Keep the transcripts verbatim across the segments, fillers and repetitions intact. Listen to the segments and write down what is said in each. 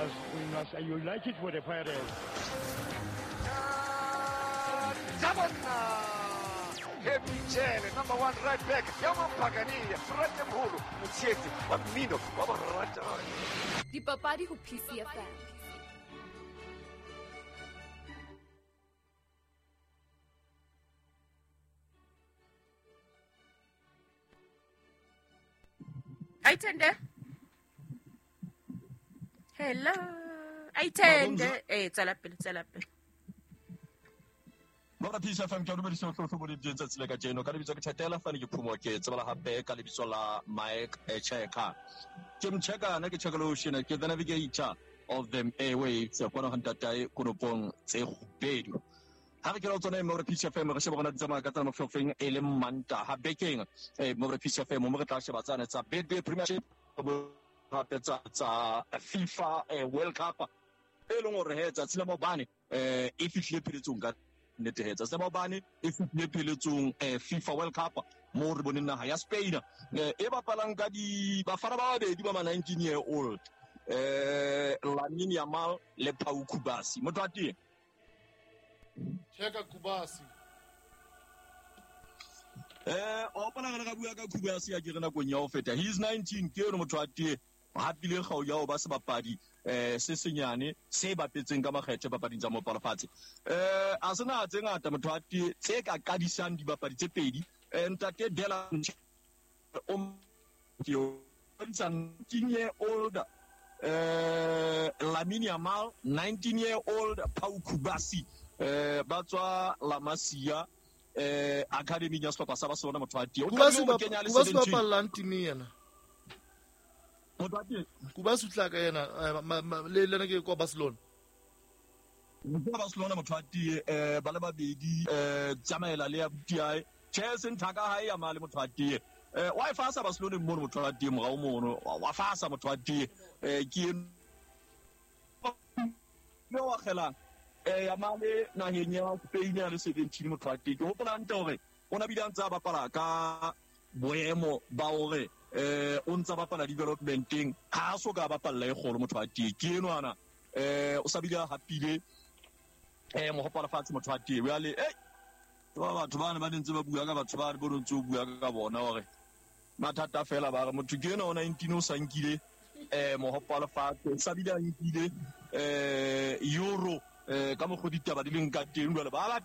must, we must unite it with the Pirates. Michele, number one right back. Dipapadi ho P C F M. Aitende. Hello. Aitende. Eh, tswela pele, tswela pele. Mora P C F M ke dumedisa tlotlo bo di tsatsi le ka jeno ka lebitso ke Thetela fane ke phumo ke tsebala hape ka lebitso la Mike Cheka. Ke mcheka na ke cheka lo shena ke the navigator of them airwaves kwana ho ntatae konopong tse kgubedu. Ha re ke lo tsona Mora P C F M re sheba bona di tsamaya ka tsela mofofeng e le manta ha bekeng eh Mora P C F M mo re tla sheba tsana tsa Betway Premiership hape tsa tsa FIFA World Cup e leng hore he tsatsi la maobane eh e fihlile pheletsong ka nnete he tsatsi la maobane e fihlile pheletsong eh FIFA World Cup mo re boneng naha ya Spain e bapalang ka di bafana ba babedi ba ma nineteen year old eh Lamine Yamal le Pau Kubasi motho a teng Cheka Kubasi. Eh, o bona re bua ka Kubasi ya ke re nakong ya ho feta. He is nineteen ke yona motho a teng hapile kgau ya ho ba sebapadi eh se senyane se bapetseng ka makgethe papading tsa mopalofatshe. Eh a sena tse ngata motho a teng tse ka qadisang dibapadi tse pedi. Eh ntate Dela o ke o nineteen year old eh Lamine Yamal, nineteen year old Pau Kubasi. Eh ba tswa La Masia eh academy ya sehlopha sa Barcelona motho a teng. O Kubasi ba Kubasi ba pallang team yena. Motho a teng. Kubasi tla ka yena le lena ke kwa Barcelona. Kwa Barcelona motho a teng eh ba le babedi eh tsamaela le ya B T I. Chelsea nthaka ha ya male motho a teng. Eh wa e fasa Barcelona mono motho a teng morao mono wa fasa motho a teng eh ke no wa kgelang. Eh ya male naheng ya Spain ya le seventeen motho a teng. Ke hopola hantle hore o na bile a ntse a bapala ka boemo ba hore eh o ntse a bapala developmenteng ha a so ka bapalla e kgolo motho a teng. Ke enwana eh o sa bile a hapile eh mohopola fatshe motho a teng. Jwale eh ba batho bana ba ntse ba bua ka batho ba re bo ntse o bua ka bona hore mathata fela ba re motho ke ena o nineteen o sa nkile eh mohopola fatshe o sa bile a nkile eh euro eh ka mokgo ditaba di leng ka teng jwale ba ba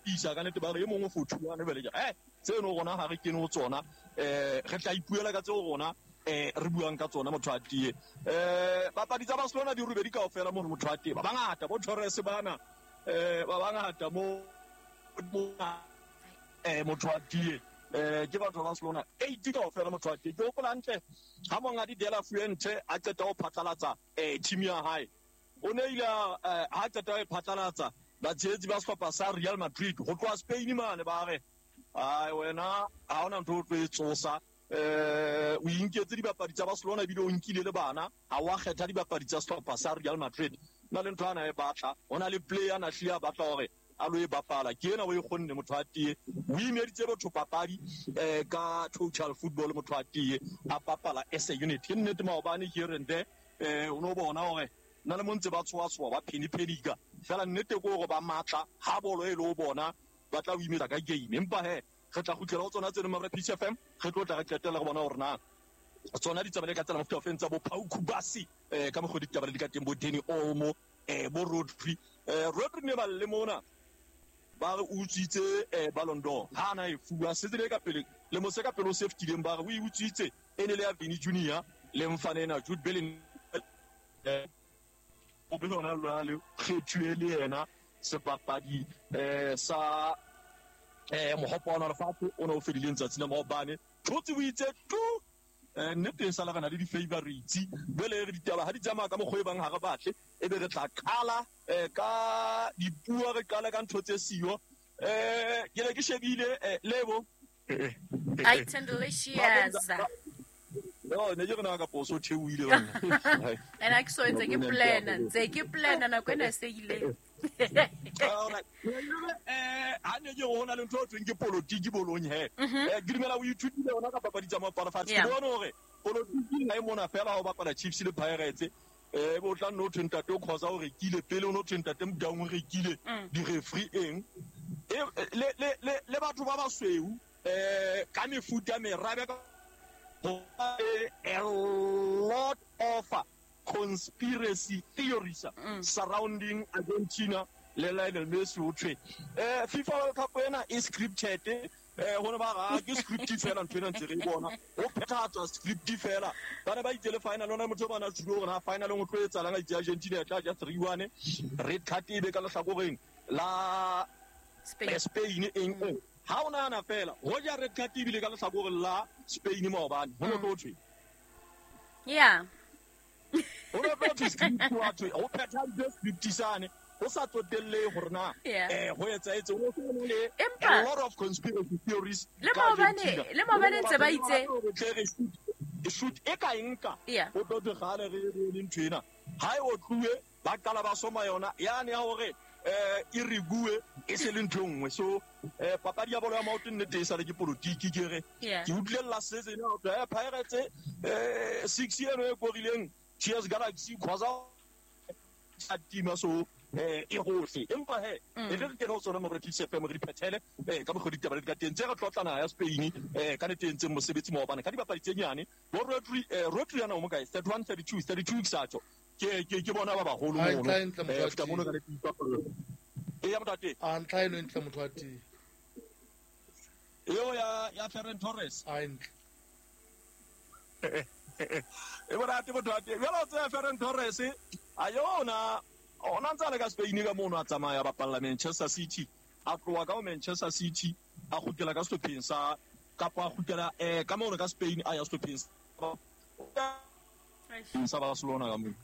isa ka nete ba re e mongwe for two one bele eh tseno rona ha re kene ho tsona eh re tla ipuela ka tseo rona eh re buang ka tsona motho a tie eh bapadi tsa Barcelona di rubedi kaofela mono motho a tie ba bangata bo Torres bana eh ba bangata mo eh motho a tie eh ke batho ba Barcelona eighty kaofela motho a tie ke hopola hantle ha monga di Dela Fuente a qeta ho phatlalatsa eh team ya hae o ne ile ha qeta e phatlalatsa batshehetsi ba sehlopha sa Real Madrid ho tloha Spain mane ba re ai wena ha hona ntho o tlo e tsosa eh o inketse dibapadi tsa Barcelona ebile o nkile le bana ha wa kgetha dibapadi tsa sehlopha sa Real Madrid na le ntho ana e batla hona le player na hlile a batla hore a lo e bapala ke ena o e kgonne motho a tie o imeditse batho papadi eh ka total football motho a tie a bapala as a unit ke nnete maobane here and there eh o no bona hore na le montse ba tswa tswa ba pheni phenika fela nnete ke hore ba matla ha bolo e le o bona ba tla o imetsa ka game empa he re tla kgutlela ho tsona tseno Mara P C F M re tlo tla re qetella re bona hore na tsona di tsamaile ka tsela mofuta ofeng tsa bo Pau Kubasi eh ka mokgo ditaba di ka teng bo Dani Olmo eh bo Rodri eh Rodri ne ba le mona ba re utswitse eh Ballon d'Or ha na e fuwa se tsile ka pele le mo se ka pele o se fetileng ba re o e utswitse e ne le ya Vini Junior le mfana ena Jude Bellingham o be lona lwa kgethuwe le yena sebapadi eh sa eh mohopo wa lefatshe o ne o fedileng tsatsi la maobane thotse o itse tu eh nnete e sala re na le di-favorites jwale re ditaba ha di tsamaya ka mokgwa e bang ha re batle e be re tla qala eh ka dipuo re qala ka ntho tse siyo eh ke ne ke shebile Lebo I Tendelicious. No, ne ke rena ka poso theohile bana. Ena ke so ntse ke plan, ntse ke plan nako ena se ile. All right. Eh ha ne ke hona le ntho e thweng ke politiki bolong he. Eh ke dumela o ithutile yona ka papadi tsa mapala fatshe. Ke bona hore politiki ha e mona fela ho bapala Chiefs le Pirates. Eh bo tla no thwe ntate o khoza o rekile pele o no thwe ntate Motaung o rekile di-referee eng le le le le batho ba basweu eh ka mefuta merabe ka a lot of conspiracy theories mm. surrounding Argentina le Lionel Messi o thwe eh FIFA World Cup ena e scripted eh hone ba ga ke script fela ntho ena ntse re bona o phethatswa script fela ba ne ba itse le final ona motho ba na tshilo gore ha final o tlo etsalang a itse Argentina e tla ja three one red card e be ka lehlakoreng la Spain Spain eng o ha o nana fela ho ja red card e bile ka lehlakoreng la Spain maobane ho no tlo thwe yeah ho no tlo thwe script wa thwe ho phetha script sane o sa tsotelle hore na eh ho etsaetse o le a lot of conspiracy theories le maobane le maobane ntse ba itse shoot e ka enka o tlo gale re re ntho ena ha e o tluwe ba qala ba soma yona yane ya hore eh e re bue e se le ntho nngwe so eh papadi ya bolo ya maoto nnete e sale ke politiki ke re ke utlwella setse ena ho eh Pirates eh six eno e korileng Cheers Galaxy khoza a tima so eh e hohle empa he e re ke no tsona mo re tlise F M re diphethele eh ka mokgwa ditaba di ka teng tse re tlotlana ya Spain eh ka nete ntse mosebetsi maobane ka dibapadi tse nyane bo Rodri eh Rodri yana o mo kae thirty-one thirty-two thirty-two xacho ke ke ke bona ba baholo mono eh fta mono ka nete e ya motate a ntla eno ntle motho wa teng eo ya ya Ferran Torres a ntle e bona te motho wa teng jalo tse Ferran Torres a yona ona ntse le ka Spain ka mono a tsamaya ba palla Manchester City a tloa ka Manchester City a kgutlela ka sehlopheng sa kapa a kgutlela eh ka mono ka Spain a ya sehlopheng sa Barcelona ka mono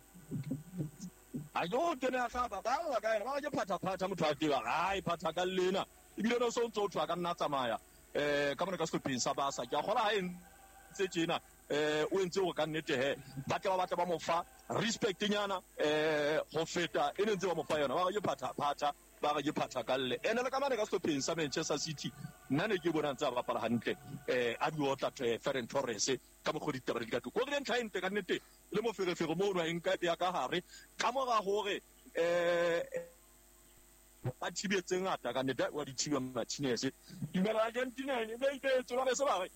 a yo kene a hlaba ba la ka ena ba ke phatha phatha motho a teba ai phatha ka lena ebile no so ntse o thwa ka nna tsamaya eh ka mono ka sehlopheng sa Barca ke a kgola ha e ntse tjena eh o entse go ka nnete he ba tla ba batla ba mo fa respect nyana eh go feta e ntse ba mo fa yona ba re ke phatha phatha ba re ke phatha ka lle ene le ka mane ka sehlopheng sa Manchester City nna ne ke bona ntse ba bapala hantle eh a di otla Ferran Torres ka mokgwa ditaba di ka tlo go re ntlha ente ka nnete le mo ferefere mo no eng ka ya ka hare ka mora hore eh ba thibetse ngata ka nnete wa di thiba Martinez dumela Argentina ne ba itse ba se ba re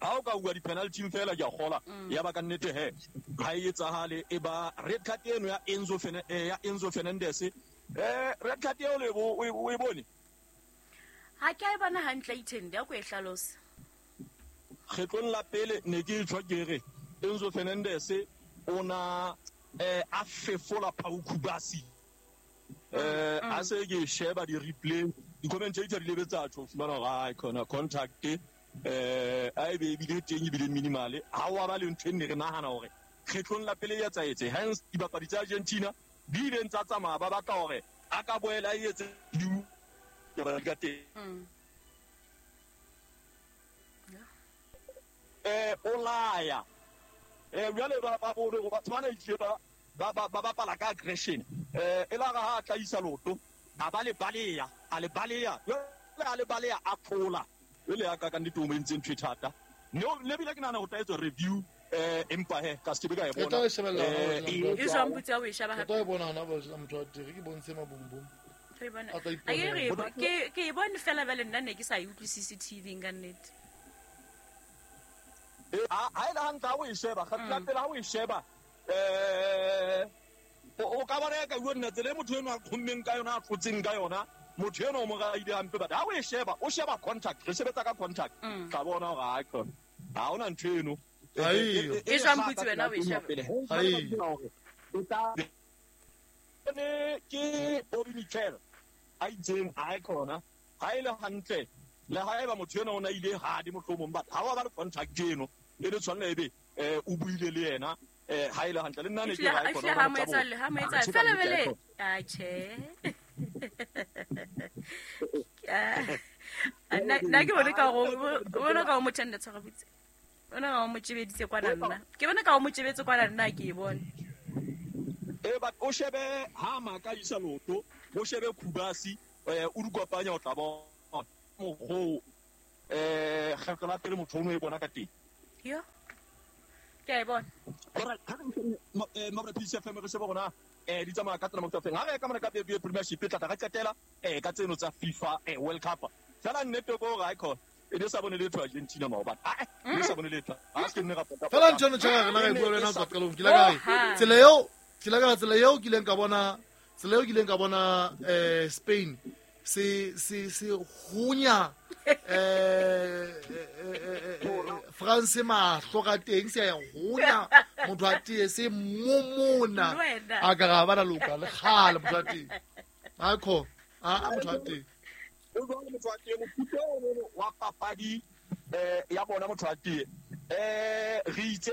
ha o ka bua di-penalty fela ke a kgola ya ba ka nnete he ha e etsahale e ba red card eno ya Enzo ya Enzo Fernandez eh red card eo le bo o e bone ha ke a e bona hantle ithende ya ko e hlalosa kgetlong la pele ne ke tshwa ke re Enzo Fernandez o na eh a fefola Pau Kubasi eh a se ke sheba di-replay di-commentator di lebetsa tjho fumana hore ai khona contact eh a e be ebile teng ebile minimale ha wa ba le ntho e ne re nahana hore kgetlong la pele ya tsaetse hence dibapadi tsa Argentina di ileng tsa tsamaya ba batla hore a ka boela a etse ka teng eh o laya eh jwale ba ba bone go batho bana itle ba ba ba bapala ka aggression eh e la ga ha tla isa loto a ba le baleya a le baleya jwale a le baleya a phola le ya ka ka nnete o mo entseng ntho e thata no le bile ke nahana ho tla etswa review eh empa he ka se ke ka e bona e jwang putsa o e sheba hape e bona hona ba motho wa teng ke bontshe mabumbum re bona a ke re ke ke e bone fela bale nna ne ke sa e utlwisise T V ka nnete ha ha ile hantle ha o e sheba kgatla pele ha o e sheba eh o ka bona ka bua nna tsela motho eno a kgommeng ka yona a tlotseng ka yona motho eno o mo raile hampe but ha o e sheba o sheba contact re sebetsa ka contact ka bona hore ha khona ha ona ntho eno e jwang putsi wena o e sheba ne ke Obi Mikel a itseng ha e khona ha ile hantle le ha eba motho eno o na ile ha di mohlomong but ha wa ba le contact eno e le tshwanela ebe eh o buile le yena eh ha ile hantle le nna ne ke ha e khona ha mo etsa le ha mo etsa fela bele a che nna nna ke bone ka go bona ka o motho nna tshwara botse bona ka o mo tshebeditse kwana nna ke bona ka o mo tshebetse kwana nna ke e bone eh but o shebe ha maka isa loto o shebe Kubasi eh o dikopanya o tla bona mogo eh kgetlo la pele motho o no e bona ka teng yo ke a e bona Alright, ha re mabra P C F M re shebe rona eh di tsamaya ka tsela mo tsafeng. Ha re ka mona ka B B Premiership e tla re qetela eh ka tseno tsa FIFA eh World Cup. Fela nnete go re icon e ne sa bone letho Argentina maobane. Ah, e ne sa bone letho. Ha se nne ra pota. Fela ntho no tjha rena re bua le wena tswa qalong. Ke la ka re tsela eo, ke la ka tsela eo ke ileng ka bona, tsela eo ke ileng ka bona eh Spain se se se hunya eh France mahlo ka teng se ya hunya motho a tee se momona a ka ga bana loka le khale motho a tee ha kho a motho a tee o jwale motho a tee mofuta o wa papadi eh ya bona motho a tee eh re itse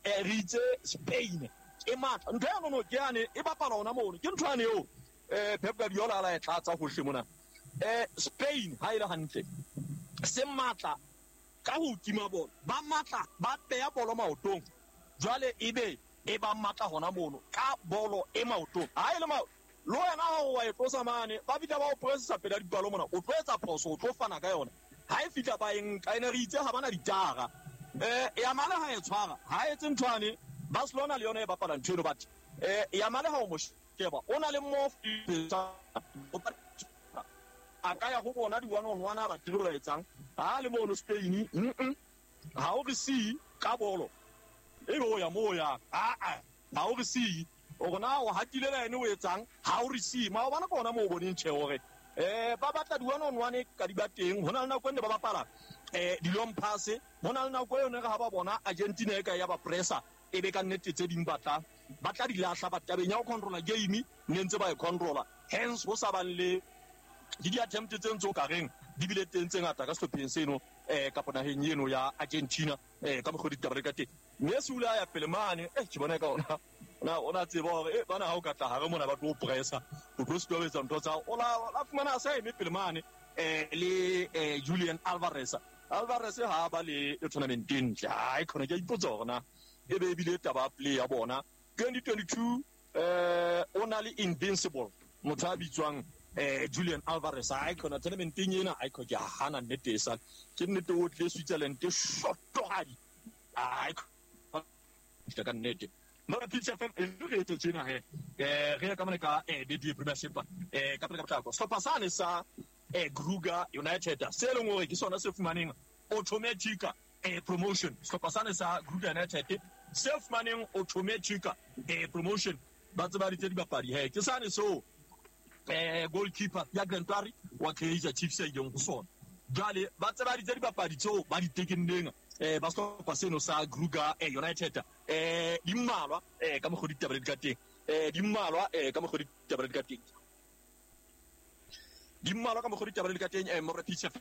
re itse Spain e matla ntho ya nono ke yane e bapala ona mono ke ntho yane eo eh Pep Guardiola la e tlatsa hohle mona eh Spain ha ile hantle se matla ka ho tima bolo ba matla ba peya bolo maotong jwale ebe e ba matla hona mono ka bolo e maotong ha ile ma lo wena ha o e tlosa mane ba bitla ba o pressa pela dipalo mona o tlo etsa phoso o tlo fana ka yona ha e fitla ba eng ka ene re itse ha bana ditara eh ya male ha e tshwara ha etse nthwane Barcelona le yona e bapala ntho eno but eh ya male ha o mo sheba o na le mo a ka ya go bona di one on one a ba tiro etsang ha le mono Spain mm ha o re see ka bolo e be o ya mo ya a a ha o re see o rona o hatile le ene o etsang ha o re see ma o bana bona mo o boneng tjhe hore eh ba batla di one on one ka di ba teng hona le nako ene ba bapala eh di long pass hona le nako yone re ha ba bona Argentina e ka ya ba pressa e be ka nnete tse ding batla ba tla di lahla ba tabeng ya ho controla game ne ntse ba e controla hence ho sa bang le di di attempt tse ntse o ka reng di bile teng tse ngata ka sehlopheng seno eh ka ponaheng eno ya Argentina eh ka mokgwa ditaba ka teng Messi o la ya pele mane eh ke bona ka ona na ona tseba hore eh bana ha o ka tla hare mona ba tlo pressa o tlo se etsa ntho tsa o la la fumana sa eme pele mane eh le eh Julian Alvarez Alvarez ha ba le tournament ntle ha e khona ke ipotsa hore na e be bile taba play ya bona twenty twenty-two eh o na le invincible motho a bitswang eh Julian Alvarez ha khona tournament ena ha ke hana nnete e sa ke nnete o tle Switzerland shotohadi ha ke ka nnete mara P C F M e re etse tsena he eh re ka mona ka eh B B Premiership eh ka pele ka potlako sehlopha sane sa eh Kruger United se leng hore ke sona se fumaneng automatic eh promotion sehlopha sane sa Kruger United se fumaneng automatic eh promotion ba tseba ditse dibapadi he ke sane so eh goalkeeper ya Grantari wa Kaizer Chiefs e ileng go sona jwale ba tseba ditse dibapadi tseo ba di tekenneng eh ba sehlopha seno sa Kruger eh United eh di mmalwa eh ka mokgwa ditaba di ka teng eh di mmalwa eh ka mokgwa ditaba di ka teng di mmalwa ka mokgwa ditaba di ka teng eh mo re P C F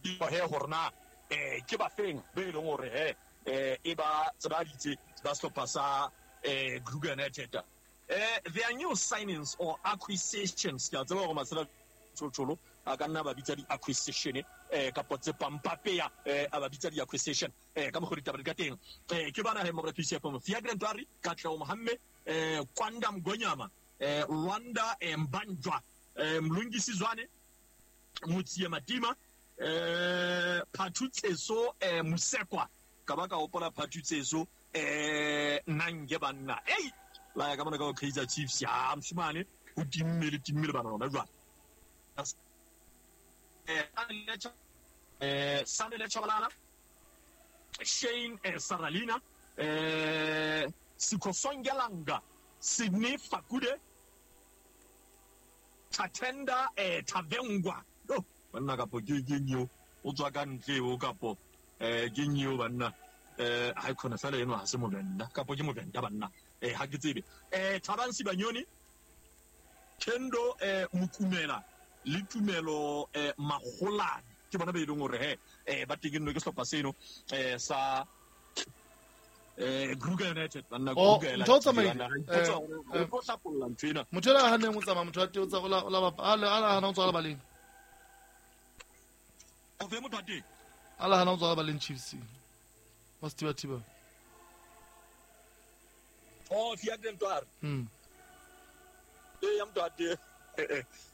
di he hore na eh ke ba feng be leng hore he eh e ba tseba ditse ba sehlopha sa eh Kruger United eh their new signings or acquisitions ke a tseba hore masela tshotsholo a ka nna ba bitsa di acquisition eh ka potse pampapeya eh a ba bitsa di acquisition eh ka mokgwa ditaba di ka teng eh ke bana he mo re P C F mo Fiagre Ntwari Katlego Mohamme eh Kwanda Mgonyama eh Rwanda Mbanjwa eh Mlungisi Zwane Motsie Matima eh Phathutseso eh Musekwa ka ba ka hopola Phathutseso eh Nange banna ei la ya ka mona ka Kaizer Chiefs ya mshimane o timme le timme le bana lona jwale eh eh Sandile Chabalala Shane eh, Saralina eh Sikosongelanga Sydney Fakude Tatenda eh Tavengwa oh banna kapo ke ke nyo o tswa ka ntle o kapo eh ke nyo banna eh ha khona fela eno ha se movenda kapo ke movenda banna eh ha ke tsebe eh Thabang Sibanyoni Kendo eh Mukumela le Tumelo eh Magolane ke bona be ileng hore he eh ba tekennwe ke sehlopha seno eh sa eh Kruger United banna Kruger ntho o tsamaile o tlo hlapolla ntho ena motho la haneng o tsamaya motho wa teng o tsa o la o la a hana o tswa baleng o fe motho wa teng a la hana o tswa baleng Chiefs wa Steve Thiba oh Fiagre Ntwari mm e ya motho wa teng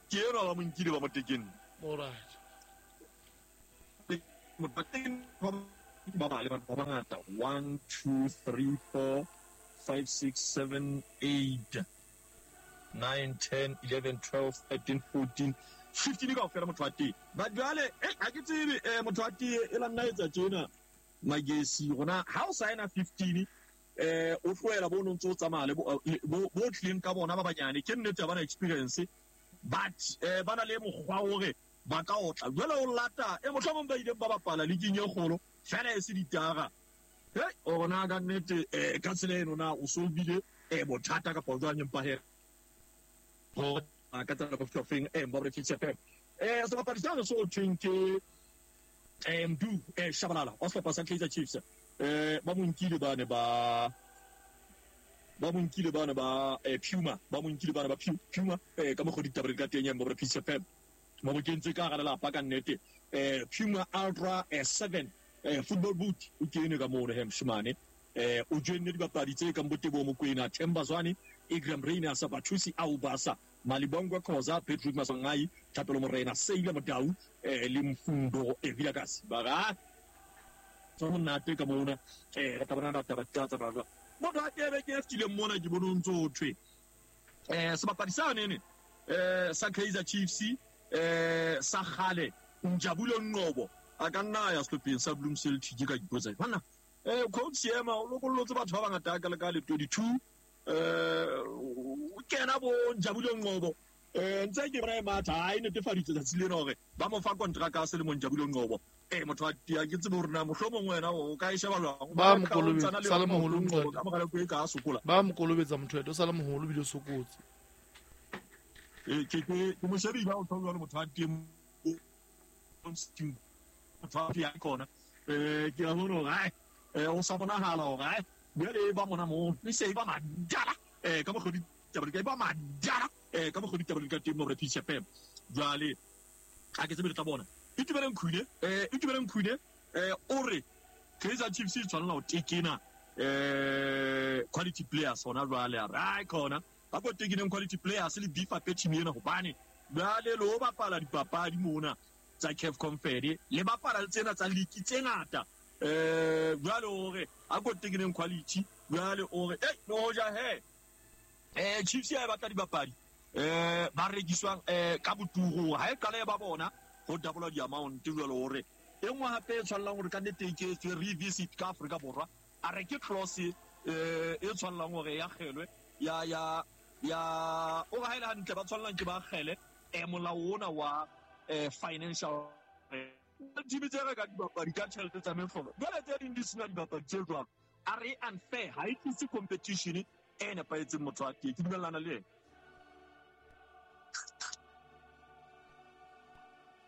ke eno ba mo nkile ba mo tekenne all right motho wa teng Ba ba le ba bangata one two three four five six seven eight nine ten eleven twelve thirteen fourteen fifteen ka ofela motho wa teng. Ba jwale eh ha ke tsebe eh motho wa teng e la nna etsa tjena magesi rona ha o signa fifteen eh o tlohela bo no ntse o tsamaya le bo bo tlileng ka bona ba banyane ke nnete ba na experience but eh bana le mokgwa hore ba ka otla jwale o lata e mohlomong ba ileng ba bapala league e kgolo fela e se ditara hey ona ka nnete eh ka tsela eno na o solvile eh bothata kapa jwang empa he go ka tsela go feng eh mbo re fitse eh sebapadi sa so thweng ke eh Mdu eh Shabalala o sehlopha sa Kaizer Chiefs eh ba mo nkile bane ba ba mo nkile bane ba eh Puma ba mo nkile bane ba Puma eh ka mo go ditaba ka teng ya mbo re fitse mo bo kentse ka gare lapa ka nnete eh Puma Ultra seven eh football boot o kene ka mo re hemshimane eh o joinne dibapadi tse ka Mbotebo Mokoena Themba Zwane Igram Reina Sabathusi Aubasa Malibongwe Khoza Patrick Maswangai Thapelo Morena Seile Modau eh le Mfundo Evilakasi ba ga tso monate ka mona eh re tla bona taba tsa tsa ba motho a tebe ke ftile mona ke bona ntse o thwe eh sebapadi sa nene eh sa Kaizer Chiefs eh sa gale Njabulo Nqobo a ka nna ya sehlopheng sa Bloem Celtic ka dipotsa bana eh coach Seema o lokollotse batho ba bangata ka le ka le twenty-two eh o kena bo Njabulo Nqobo eh ntse ke bona e matha ha e netefaditse tsatsi lena hore ba mo fa contract ya selemo Njabulo Nqobo eh motho a tia ke tsebe hore na mohlomong wena o ka e sheba jwang ba mo kolobetsa sa le moholo Nqobo ka mogala ko e ka sokola ba mo kolobetsa motho o sa le moholo bile sokotse eh ke ke mo shebi ba o thola le motho a teng motho a ya kona eh ke a bona hore ai eh o sa bonahala hore ai jwale ba mona mo le se ba madala eh ka mo go ditaba di ba madala eh ka mo go ditaba di ka teng mo re P C F M jwale a ke tsebe le tla bona Itumeleng Khune eh Itumeleng Khune eh o re Kaizer Chiefs e tshwanela ho tekena eh quality players hona jwale a re ai khona ba ko tekeneng quality players le beef up team ena hobane jwale lo bapala dipapadi mona tsa C A F Confed le bapala le tsena tsa league tse ngata eh jwale o re a ko tekeneng quality jwale o re eh no ja he eh Chiefs ya batla dibapadi eh ba rekiswang eh ka boturu ha e qale ba bona go double di amount jwale o re e nngwe hape e tshwanelang hore ka nnete e ke etswe revisit ka Afrika Borwa a re ke clause eh e tshwanelang hore ya kgelwe ya ya ya o ga ile hantle ba tshwanelang ke ba kgele eh molao ona wa eh financial team tse re ka dibapadi ka tjhelete tsa mehlolo jwale tse ding di sena dibapadi tse jwalo a re unfair ha e tlise competition e nepahetseng motho wa teng ke dumellana le yena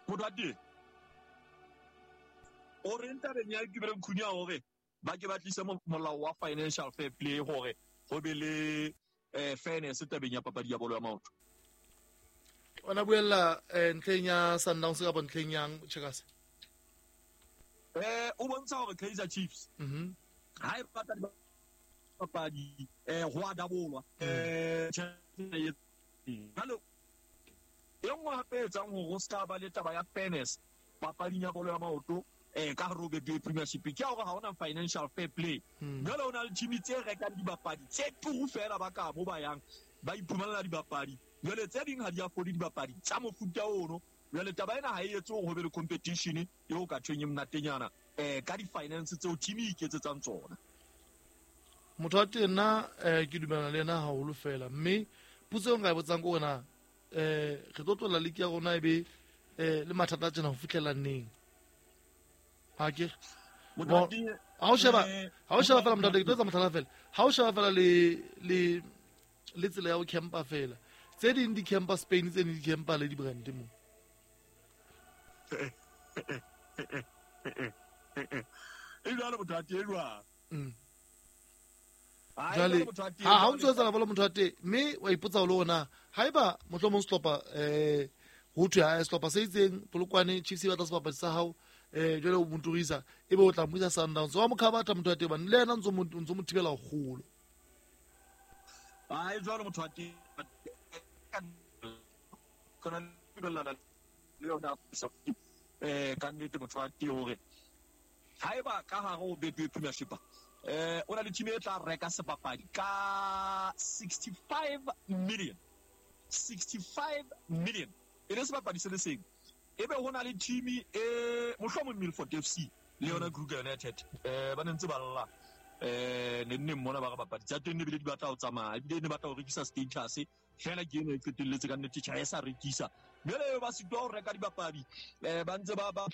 motho wa teng o re ntabeng ya Itumeleng Khune ya hore ba ke ba tlise molao wa financial fair play hore ho be le eh fairness tabeng ya papadi ya bolo ya maoto. Ona buella ntlheng ya Sundowns kapa ntlheng yang Checkers eh o bontsha hore Kaizer Chiefs mhm ha e batla dibapadi eh ho a dabolwa eh jalo e nngwe hape e etsang hore ho ska ba le taba ya fairness papading ya bolo ya maoto eh ka hare ho Betway Premiership ke hore ha hona financial fair play jalo o na le team tse rekang dibapadi tse turu fela ba ka mo ba yang ba iphumanela dibapadi jwale tse ding ha di afford dibapadi tsa mofuta ono jwale taba ena ha e etse hore ho be le competition eo ka thweng e monatenyana eh ka di-finance tseo team e iketsetsang tsona. Motho wa teng nna eh ke dumellana le yena haholo fela mme potso eo nka e botsang ke hore na eh re tlo tlohela league ya rona e be eh le mathata a tjena ho fihlela neng ha ke ha o sheba ha o sheba fela motho ke tlo etsa mohlala fela ha o sheba fela le le le tsela ya ho campa fela tse ding di campa Spain tse ding di campa le di-brand mo e jwalo motho wa teng jwang jwale ha ha o ntso etsa bolo motho wa teng mme wa ipotsa le ona haeba mohlomong sehlopha eh ho thwe ha sehlopha se itseng Polokwane Chiefs e batla sebapadi sa hao eh jwale o moturisa ebe o tla mo isa Sundowns wa mo khabatha motho wa teng bane le yena ntso mo ntso mo thibela kgolo. Ai jwalo motho wa teng kona le yona eh ka nnete motho wa teng hore Haeba ka hare ho Betway Premiership eh o na le team e tla reka sebapadi ka sixty-five million. sixty-five million. E le sebapadi se le seng. Ebe ho na le team e mohlomong Milford F C le yona Kruger United eh ba ntse ba lla eh ne nne mmona ba re bapadi tsa teng ne bile di batla ho tsamaya ebile ne batla ho rekisa status fela ke eno e qetelletse ka nnete tjha e sa rekisa jwale ba sitwa ho reka dibapadi eh ba ntse ba ba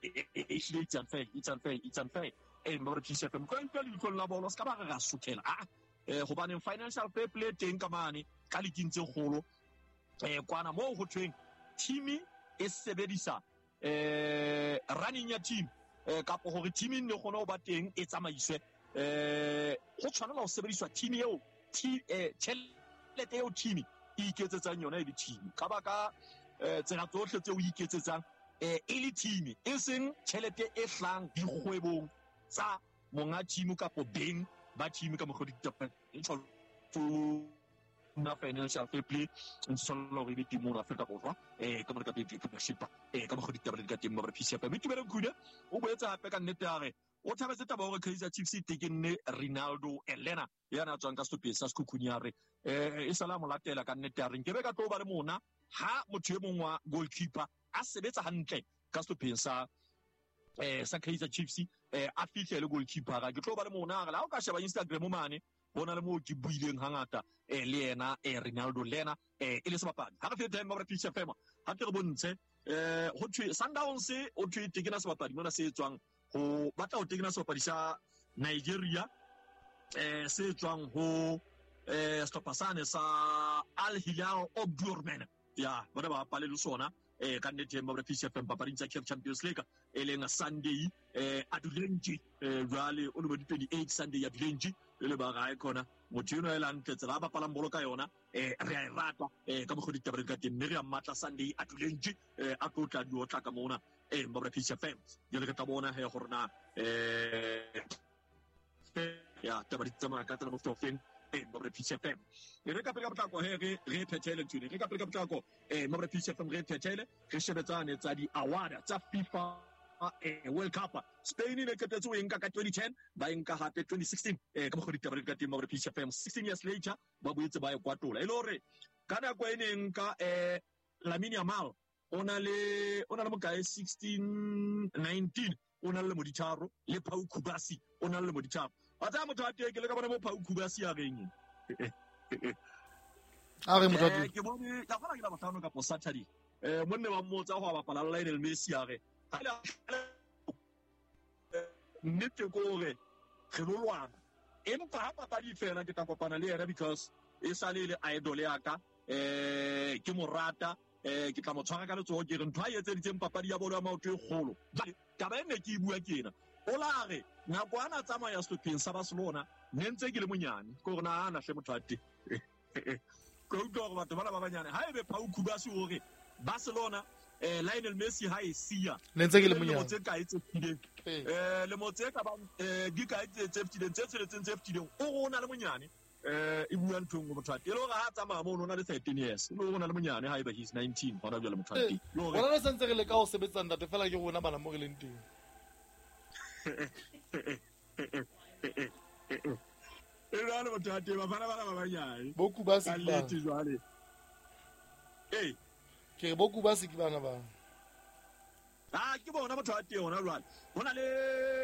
it's unfair it's unfair it's unfair eh mo re P C F M ko ntwa le la bolo ska ba re ra suthela ah eh hobaneng financial fair play teng ka mane ka liking tse kgolo eh kwana moo ho thweng team e sebedisa eh running ya team eh kapo hore team ne kgone ho ba teng e tsamaiswe eh ho tshwanela ho sebediswa team eo eh tjhelete eo team e iketsetsang yona e le team ka baka tsela tsohle tseo e iketsetsang eh e le team e seng tjhelete e hlang dikgwebong tsa monga team kapo beng ba team ka mokgwa ditaba e na financial fair play ntsholo re be teng mo Afrika Borwa eh ka mora ka Betway Premiership eh ka mokgwa ditaba le ka teng mo P C F M Tumelo Khune o boetse hape ka nnete ya re o thabetse taba hore Kaizer Chiefs e tekenne Ronaldo Elena yana tswang ka sehlopheng sa Sekhukhune ya re eh e sala mo latela ka nnete ya re nkebe ka tlo ba le mona ha motho e mong wa goalkeeper a sebetsa hantle ka sehlopheng sa eh sa Kaizer Chiefs eh a fihle le goalkeeper ga ke tlo ba le mona re la o ka sheba Instagram mane bona le mo ke buileng hangata eh le yena eh Ronaldo lena eh e le sebapadi ha re fete time ba P C F M ha ke re bontshe eh ho thwe Sundowns o thwe tekena sebapadi mona se tswang ho batla ho tekena sebapadi sa Nigeria eh se tswang ho eh sehlopha sane sa Al Hilal Omdurman ya bona ba bapale le sona eh ka nnete ba P C F M papading tsa C A F Champions League e leng Sunday eh Adulenji eh jwale o le twenty-eight Sunday Adulenji le ba gae khona motho eno e lantle tsela ba bapalang bolo ka yona eh re a e rata eh ka mokgwa ditaba ka teng mme re a mmatla Sunday Adulenji eh a tlo tla di otla ka mona eh ba P C F M jwale re tla bona he gore na eh ya taba di tsamaya ka tsela mo feng eh ba P C F M re ka pele ka potlako he re re phethele ntshwene re ka pele ka potlako eh ba P C F M re phethele re shebetsane tsa di award tsa FIFA eh World Cup Spain ne qetetse o enka ka twenty ten ba enka hape twenty sixteen eh ka mokgwa ditaba ka teng ba P C F M sixteen years later ba boetse ba e kwatola e le hore ka nako e neng ka eh Lamine Yamal o na le o na le mokae sixteen nineteen o na le moditharo le Pau Kubasi o na le moditharo a tsa motho a teng ke le ka bona mo Pau Kubasi a reng a re motho a teng ke bone ka fana ke la bohlano ka Saturday eh monne ba mmotsa ho bapala Lionel Messi a re nnete ko hore re lo lwana empa ha papadi fela ke tla kopana le yena because e sale le idol ya ka eh ke mo rata eh ke tla mo tshwara ka letsoho ke re ntho a etseditseng papadi ya bolo ya maoto e kgolo taba e ne ke e bua ke ena o la re nako ana tsamaya sehlopheng sa Barcelona ne ntse ke le monyane ke hore na ana hle motho a teng ke utlwa hore batho bana ba banyane ha ebe Pau Kubasi hore Barcelona eh Lionel Messi ha e siya ne ntse ke le monyane tse kae tse fetileng eh le motse ka ba eh di kae tse tse fetileng tse tsheletseng tse fetileng o re o na le monyane eh e bua ntho nngwe motho a teng e le hore ha tsamaya mono o na le thirteen years e le hore o na le monyane ha eba he's nineteen hona jwale motho a teng rona re santse re leka ho sebetsa ntate fela ke rona bana mo re leng teng e jwale motho a teng bafana bana ba banyane bo Kubasi ka nnete jwale eh ke re bo Kubasi ke bana ba ah ke bona motho a teng hona jwale hona le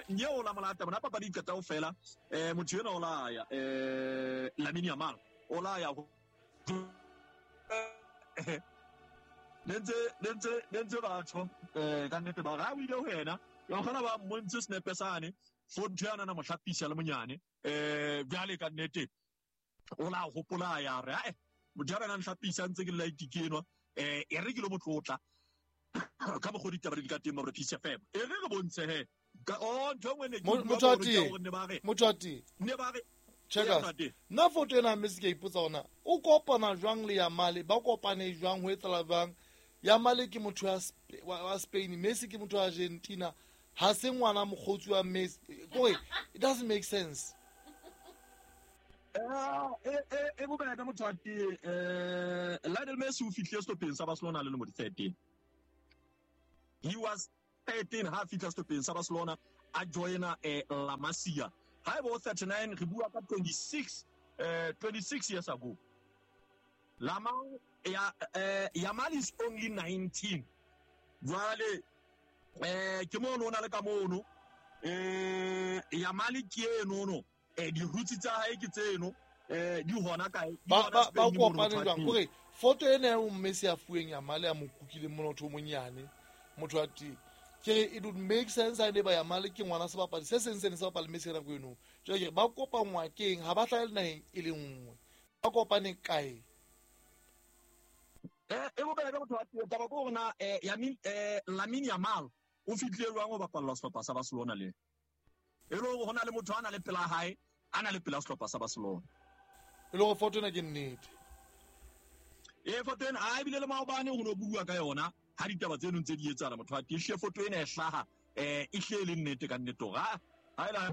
nyeo la molata bona papadi e qeta ho fela eh motho ena o la ya eh Lamine Yamal o la ya nentse nentse nentse batho eh ka nnete ba ra o ile ho yena ya kgona ba mmontse snepe sane fo ntho yana na mohlapisa le monyane eh jwale ka nnete o la hopola ya re eh motho ya rena nhlapisa ntse ke la itikenwa eh e re ke lo motlotla ka mokgwa ditaba di ka teng ba P C F M e re re bontshe he ka o ntho ngwe ne ke motho a teng motho a teng ne ba re check nna foto ena mme se ke ipotsa hona o kopana jwang le Yamal ba kopane jwang ho etsala jwang Yamal ke motho wa Spain Messi ke motho wa Argentina ha se ngwana mokgotsi wa Messi kore it doesn't make sense eh eh e bobebe motho a teng eh Lionel Messi o fihlile sehlopheng sa Barcelona le lemo di thirteen. He was thirteen ha fihla sehlopheng sa Barcelona a joina eh, La Masia. Ha eba o thirty-nine re bua ka twenty-six eh, twenty-six years ago. Lama ya eh, Yamal is only nineteen. Jwale eh ke mono o na le ka mono eh Yamal ke eno no eh di roots tsa hae ke tseno eh di hona kae ba ba ba kopane jwang kore photo ena ya Messi a fuweng Yamal ya mo kukile mona motho o monyane motho a teng ke re it would make sense ha ne ba Yamal ke ngwana sebapadi se seng se ne se bapala Messi nako eno jwale ke re ba kopangwa keng ha ba hlahe naheng e le nngwe ba kopane kae eh e bobele ka motho wa teng taba ke hore na eh Yamin eh Lamine Yamal o fihlile jwang ho bapalla sehlopha sa Barcelona le e le hore hona le motho a na le pela hae a na le pela sehlopha sa Barcelona e le hore photo ena ke nnete e photo ena a ebile le maobane ho no bua ka yona ha ditaba tseno ntse di etsahala motho wa teng hle photo ena e hlaha eh e hle le nnete ka nnete hore ha ha ela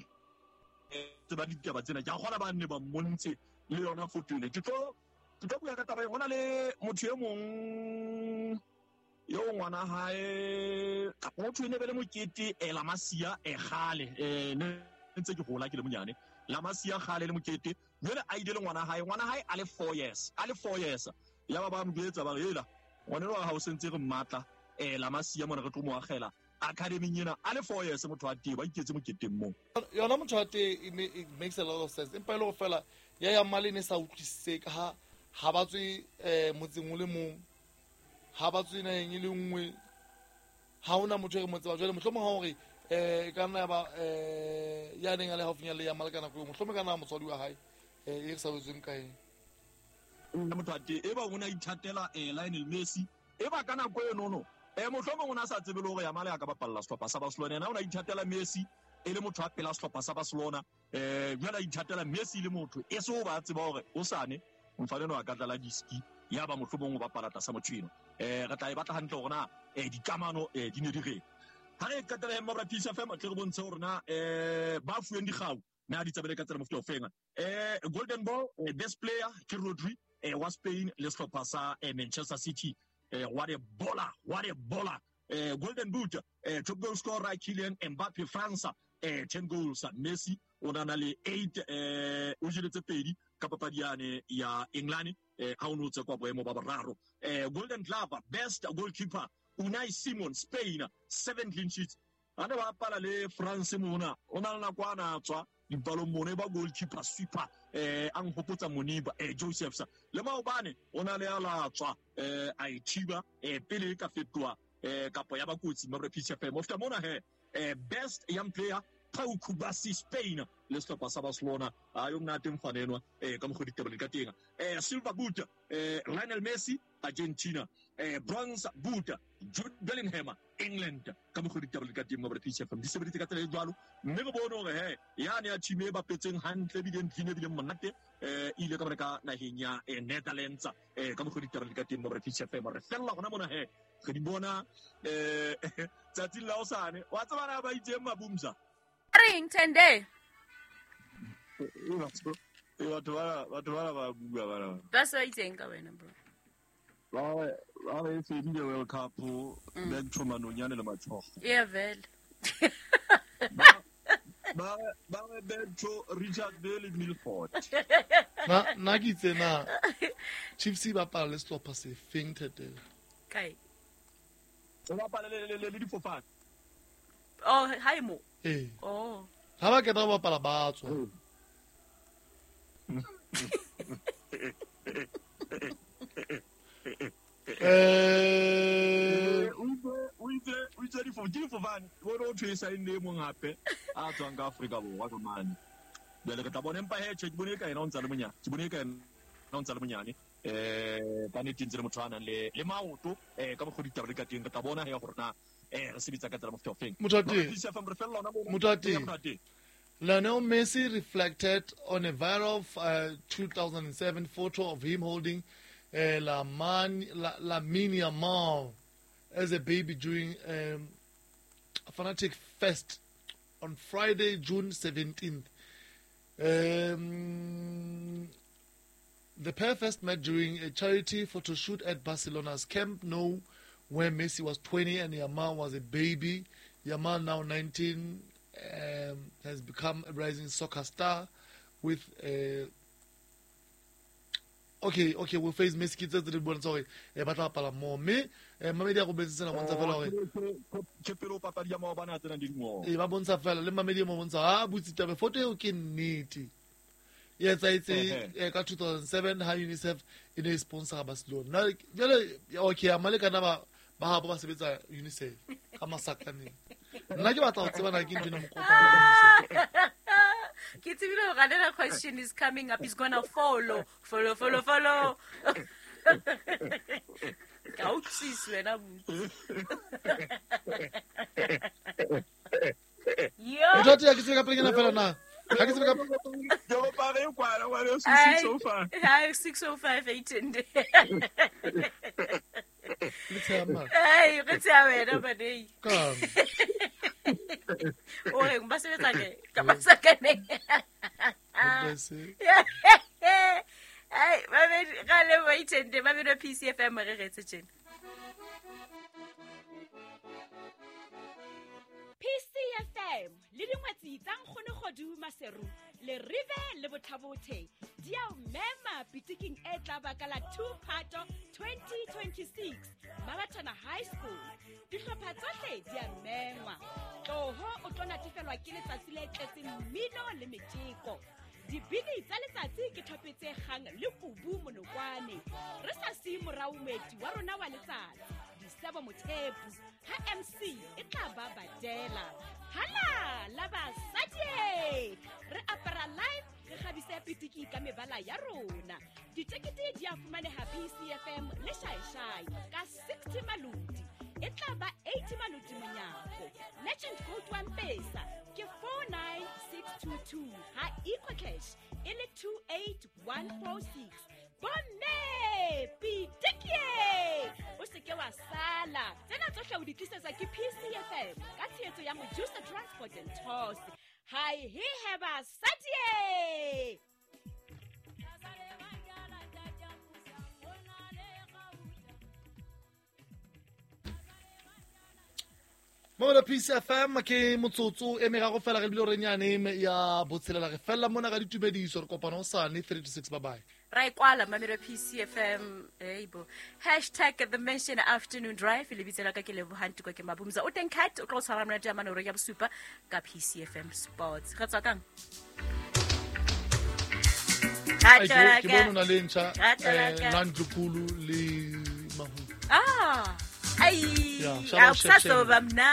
tseba ditaba tsena ke a kgona ba nne ba mmontshe le yona photo ena ke tlo ke tlo bua ka taba e hona le motho e mong yo ngwana hae motho ene be le mokete e La Masia e kgale eh ne ntse ke hola ke le monyane La Masia kgale le mokete jwale a ile le ngwana hae ngwana hae a le four years a le four years ya ba ba mo jwetsa ba re ela ngwana wa hao sentse re mmatla eh La Masia mona re tlo mo agela academy ena a le four years motho wa teng ba iketse moketeng mo yona motho wa teng it makes a lot of sense empa e le go fela ya Yamal ne sa utlwisise ka ha ha ba tswe eh motseng o le mong ha ba tswe naheng e le nngwe ha hona motho e re mo tseba jwale mohlomong ha hore eh ka nna ba eh ya neng a le haufinyana le Yamal ka nako eo mohlomong ka nna motswadi wa hae eh e re sa botsweng kae nna motho wa teng e ba o na ithatela eh Lionel Messi e ba ka nako eno no eh mohlomong o na sa tsebe le hore Yamal a ka bapalla sehlopha sa Barcelona yena o na ithatela Messi e le motho a pela sehlopha sa Barcelona eh jwale a ithatela Messi le motho e se o ba tseba hore o sane mfaneno a ka tlala diski ya ba mohlomong o bapala tlasa motho eno eh re tla e batla hantle hore na eh dikamano eh di ne di reng ha re qetela mma Peace F M tle re bontshe hore na eh ba fuweng dikgau na di tsabele ka tsela mofuta o feng eh Golden Ball eh, best player ke Rodri eh wa Spain le sehlopha sa eh, Manchester City eh what a baller what a baller eh Golden Boot eh top goal scorer Kylian Mbappe France eh ten goals Messi o na na le eight eh o jeletse pedi ka papadi yane ya England eh ha o no tse kwa boemo ba boraro eh Golden Glove best goalkeeper Unai Simon Spain seven clean sheets ana ba pala le France mona o na le nako ana tswa dipalong mona e ba goalkeeper sweeper eh a nhopotsa Moniba eh Josephs le maobane o na le ala tswa eh a ithiba eh pele ka fetoa eh kapo ya ba kotsi mabra P C F M ofta mona he eh best young player Pau Kubasi Spain le sehlopha sa Barcelona a yo mnate mfanenwa eh ka mokgwa ditaba ka teng eh Silver Boot eh Lionel Messi Argentina eh Bronze Boot Jude Bellingham England ka mokgwa ditaba ka teng mabra P C F M di sebeditse ka tsela e jwalo mme re bone hore he yane ya team e bapetseng hantle ebile ntlhine ebile monate eh ile ka bana ka naheng ya Netherlands eh ka mokgwa ditaba ka teng mabra P C F M re fella hona mona he re di bona eh tsatsing la hosane wa tsebana ba itseng mabumsa reng Tende batho ba batho ba ba bua bana ba sa itseng ka wena bro ba ba re fedile World Cup back to manonyane le matshogo yeah vele ba ba ba back to Richard Bailey Milford na na ke itse na Chiefs ba bapala le sehlopha se feng Tete kae ba bapala le le le difofane oh hi mo eh oh ha ba keta ba bapala ba tswa eh o itse o itse difofane o thwesa e nne mong hape a tswang ka Afrika Borwa ka mane jwale re tla bona empa he tjhe ke bone ka yena o ntsa le monyane ke bone ka yena o ntsa le monyane eh ka nnete ntse le motho a nang le le maoto eh ka mokgwa ditaba le ka teng re tla bona he gore na eh re sebetsa ka tsela mofuta o feng motho wa teng Lionel Messi reflected on a viral uh, two thousand seven photo of him holding uh, Lamine La, Lamine Yamal as a baby during um, a Fanatic Fest on Friday, June seventeenth. Um, the pair first met during a charity photo shoot at Barcelona's Camp Nou, where Messi was twenty and Yamal was a baby Yamal, now nineteen, um, has become a rising soccer star with uh, okay okay we face Messi tse tse di bontsha hore eh ba tla bapala mo mme eh mamedi a robetse tsena bontsha fela hore ke pele o papadi ya maobane a tsena di dingo e ba bontsha fela le mamedi mo bontsha ha butsi tabe foto eo ke nnete e etsahetse ka two thousand seven ha UNICEF e ne sponsor Barcelona. Na jale okay a malekana ba ba ha ba sebetsa UNICEF ka masakaneng. Nna ke batla ho tseba na ke ntho ena mokopa. Ke tsebile hore another question is coming up. Is gonna follow, follow, follow, follow. Ka utlwisisa wena butsi. Yo. Motho ya ke tsebe ka pele fela na. Ha ke tsebe ka ke go pare kwala wa six oh five. Hi six oh five eight and. Le tsama. Hey, re tsaya wena badei. Ka. O re ba sebetsa ke ka masakaneng. Hey, ba be ga le wait and ba be P C F M re retse tjena. P C F M le dingwetsi tsa nkgono Kgodu Maseru le Rive le Bothabothe di a o mema pitiking e tla baka la two Phato twenty twenty-six Mabatana High School. Dihlopha tsohle di a mengwa. Tloho o tlo natefelwa ke letsatsi le tletseng mmino le metjeko. Dibini tsa letsatsi ke thopetse kgang le kubu monokwane. Re sa siye morao moeti wa rona wa letsatsi Disebo Mothepu ha M C e tla ba badela. Hala la basadi re apara live re kgabise pitiki ka mebala ya rona. Ditekete di a fumaneha P C F M le Shaishai ka sixty maloti. E tla ba eighty maloti monyako. Legend code wa Mpesa ke four nine six two two ha EcoCash e le two eight one four six. Bomme pitiki o se ke wa sala. Tsena tsohle o di tlisetswa ke P C F M ka tshehetso ya Mojusa Transport and Tours. Hi he heba sadie. Mo P C F M ke motsotso e meraro fela re bile re nyane ya botshelela re fella mona ka ditumediso re kopana hosane three to six bye bye. Ra ikwala mamelo P C F M eibo hashtag the mention afternoon drive le bitsela ka ke lebohanti kwa ke mabumza o teng cat o tlo tshwara monate ya manoro ya bosupa ka P C F M Sports re tswa kang ke bona le ntšha eh Nandlukulu le Mahu ah ai a sa so ba mna.